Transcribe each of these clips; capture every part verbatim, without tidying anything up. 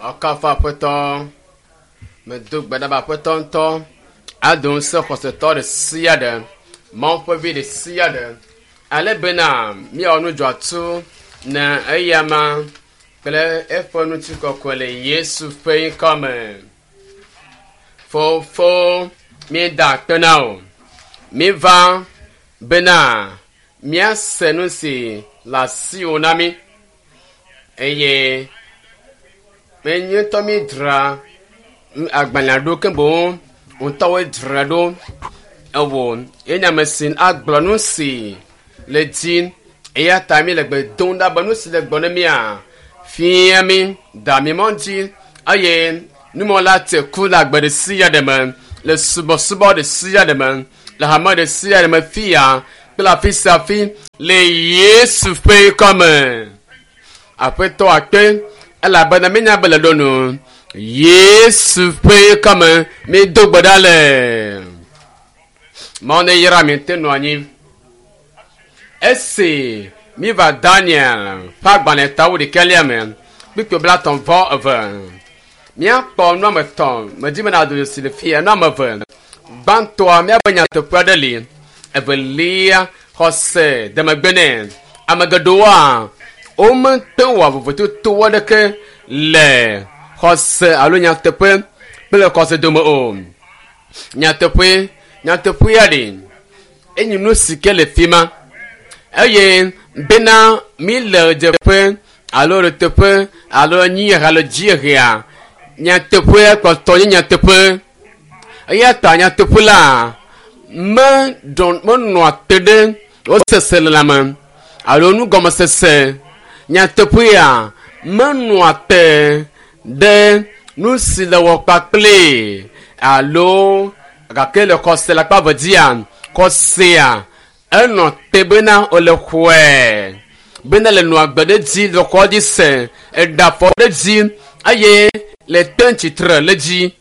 Woakafu Aƒetɔ. Medo gbe ɖa be Aƒetɔ ŋutɔ ado ŋusẽ xɔsetɔ ɖe sia ɖe, Mawu ƒe vi ɖe sia ɖe, ale bena míawɔ nu dzɔatsu na eyama kple eƒe ŋutikɔkɔe le Yesu ƒe ŋkɔ me. Fofo, míeda akpe na wò. Míva bena míase nu si le asiwò na mí eye menye ŋutɔ míedzra agbalẽa ɖo ke boŋ ŋutɔwoe dzra ɖo. Ewɔ ye nye ame si agblɔ nu si le dzi eya ta mi le gbe dom ɖa be nu si le gbɔ ne mía fia mi da mi mɔ dzi eye numɔla te ku le agbe ɖe sia ɖe me le subɔsubɔ ɖe sia ɖe me le hame ɖe sia ɖe me fia kple afi sia afi le Yesu ƒe ŋkɔ me. Aƒetɔ akpe elabena míenya be le ɖo nu. Yesu ƒe ŋkɔ me mído gbe ɖa le. Mawu ne yra mi te nɔ anyi. Esi míva Daniel ƒe agbalẽ ta wuɖekɛlia me kpukpui blaetɔ̃ vɔ eve. Míakpɔ nu ame etɔ̃ medi bena ado dzesi le fia nu ame eve. Gbãtɔa míabe nyateƒe aɖe li. Evelia xɔse de megbe nɛ. Ame geɖewoa womete wɔ vovototo aɖeke le xɔse alo nyateƒe kple xɔse dome o. Nyateƒe nyateƒea ɖe enye nu si ke le fi ma eye bena mi le dzeƒe alo le teƒe alo anyiehe alo dziehea nyateƒea kpɔtɔ nye nyateƒe eya ta nyateƒe la meɖɔ menɔa te ɖe woseselelãme alo nugɔmesese nyateƒea menɔa te ɖe nu si le wɔ kpakple alo gake le xɔse le akpa eve dzia xɔsea enɔ te bena wòle xɔe bena le nɔ agbe ɖe dzi le xɔ dzi se eɖe afɔ ɖe dzi eye le te tsitre le dzi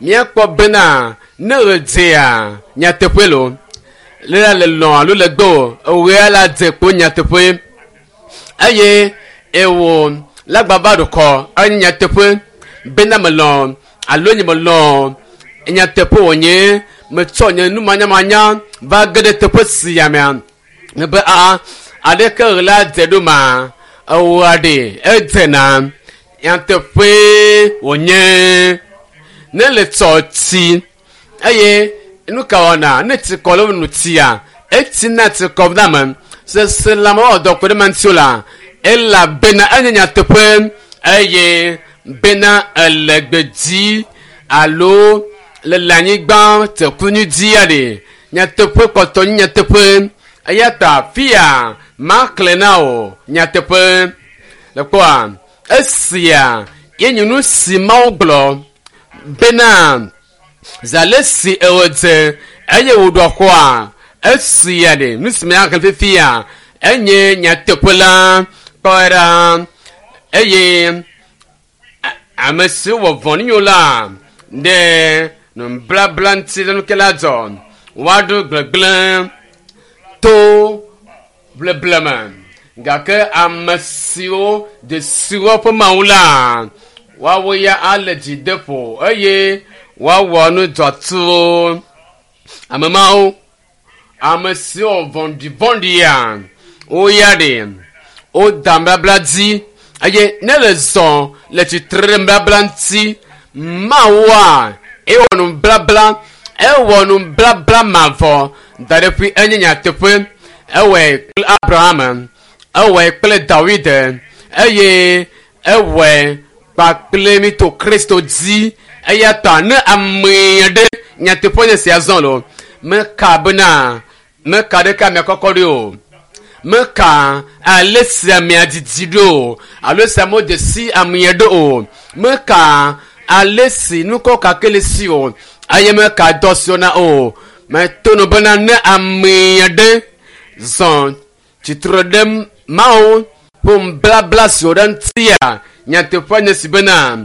míakpɔ bena ne ɣe nyateƒe lo le la le lɔ alo le gbɔ ewɔe la dze kpo nyateƒe eye ewɔ lagbava ɖokɔ enye nyateƒe bena melɔ alo nye melɔ nyateƒe wònye metsɔ nye numanyamanya va ge ɖe teƒe sia mea be aa aleke ɣe la dze ɖo ma ewɔa ɖe edzena nyateƒe wònye ne le tsɔ tsi eye nu ka wɔna ne tsi kɔ le nu tsia etsina tsi kɔ na me seselãme wɔwɔ dɔ ku ɖe ma ŋuti o la elabena enye nyateƒe eye bena ele gbedzi alo le le anyigba tekunui dzia ɖe nyateƒe kpɔtɔ nye nyateƒe eya ta fia maxlẽ na o nyateƒe le kpɔa esia ye nye nu si Mawu gblɔ bena zi ale si ewɔ dze eye wòɖo xɔa esia ɖe nu si miaxlẽ fifia enye nyateƒe la kpɔe ɖa eye ame siwo wɔ vɔ̃ɖi la ɖe nublabla ŋuti le nuke la dzɔ woaɖo gblegblẽ to bleble me gake ame siwo dzesiwo ƒe mawu la woawo ya ale dzi de ƒo eye woawɔ nu dzɔtsuwo ame mawo ame siwo vɔ̃ɖivɔ̃ɖia wo ya ɖe woda nubabla dzi eye ne le zɔ le tsitre ɖe nubabla ŋuti mawua ewɔ nublabla ewɔ nublabla mavɔ da ɖe ƒui enye nyateƒe ewɔe kple Abraham ewɔe kple Dawid eye ewɔe kpakple mi to Kristo dzi eya ta ne ame aɖe nyateƒe nye sia zɔ lo meka bena meka ɖeke amea kɔkɔ ɖo o meka ale si amea didi ɖo o alo si amewo dze si amea ɖo o meka ale si nukɔ kake le si o eye meka dɔ si na o meto no bena ne ame aɖe zɔ tsitre ɖe Mawu ƒe nublabla si wò ɖe ŋutia nyateƒe nye si bena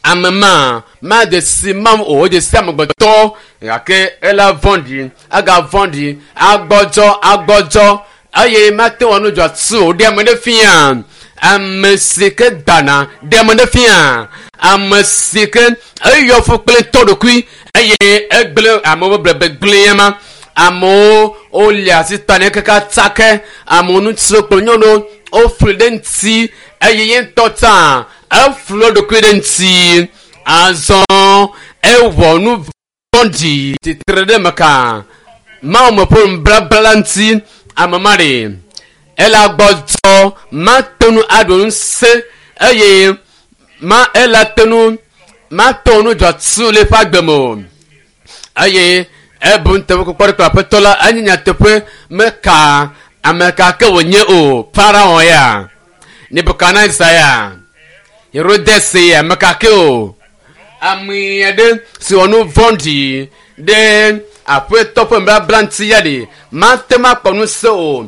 ame ma made si Mawu o wodze si amegbetɔ gake ela vɔ̃ɖi agavɔ̃ɖi agbɔdzɔ agbɔdzɔ eye mate wɔ nu dzɔatsu o ɖe ame ɖe fia Ame si ke dana ɖe ame ɖe fia. Ame si ke eyɔ fu kple tɔ ɖokui eye egblẽ amewo ƒe gbegblẽ ma. Amewo wole asi ta ne kaka tsake. Amewo ŋutsuwo kple nyɔnuwo wofli ɖe ŋuti eye ye ŋutɔ tsã eflu eɖokui ɖe ŋuti. Azɔ ewɔ nu vɔ̃ɖi tsitre ɖe me ka Mawu me ƒe nublabla la ŋuti ame ma ɖe ela gbɔdzɔ mate ŋu aɖu ŋusẽ eye ma ela te ŋu mate ŋu dzɔtsu le eƒe agbe me o eye ebu nuteƒekpɔkpɔ ɖe kple aƒetɔ la enye nyateƒe meka ame ka ke wònye o Farao ya Nebukadnezar ya Herodes ya meka ke o ame aɖe si wɔ nu vɔ̃ɖi ɖe aƒetɔ ƒe nubabla ŋuti ya ɖe mate ŋu akpɔ ŋusẽ o